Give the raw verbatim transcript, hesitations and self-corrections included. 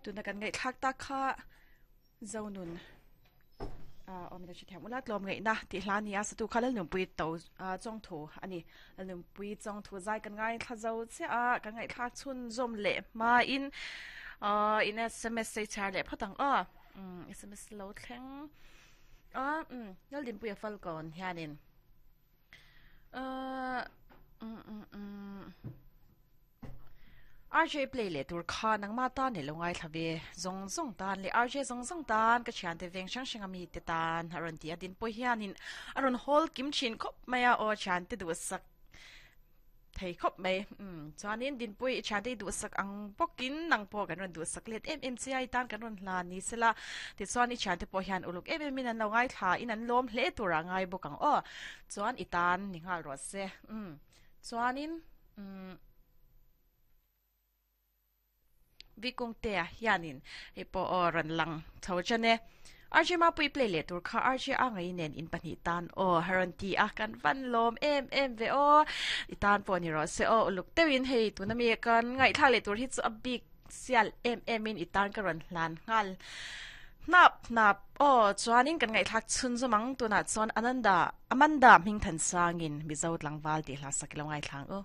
Tuna kan ngai thlak ta kha zonun omina chi thiam ula tlom ngai na ti hla ni a satu khalal num pui to chong thu ani num pui chong thu zai kan ngai thla zo che a kan ngai thla chhun zom le ma in in sms sei char le phatang a sms lo thleng a um nal din pui a fal kon hianin a um um um R J play le tur kha nang ma ta ne lo ngai thlawe zong zong tan le R J zong zong tan ka thian te veng sang sang ami te tan aron ti adin po hianin aron hol kim chin khop maya o chan te du sak thei khop mai um chuanin din pui chan te du sak ang pokin nang po kan ron du sak let M M C I tan kan ron hla ni sela ti chuan i chan te po hian uluk em em in an lo ngai thla in an lom hle tura ngai bokang o chuan i tan ni ngal ro se um chuanin um vikung te hianin epo oran lang tho chane R J ma pui play le tur kha R J a ngai nen in pahnih tan o haron ti a kan van lom em em ve o i tan pawh ni rawh se o uluk teuhin hei tuna mi kan ngaih thla le tur hi chu a bik sial em em in i tan ka rawn hlan nghal nap nap o chuanin kan ngaih thlak chhun zawmang tunah chuan Ananda Amanda hming than sangin Mizo tlangval tih hla sak ilo ngai thlang u.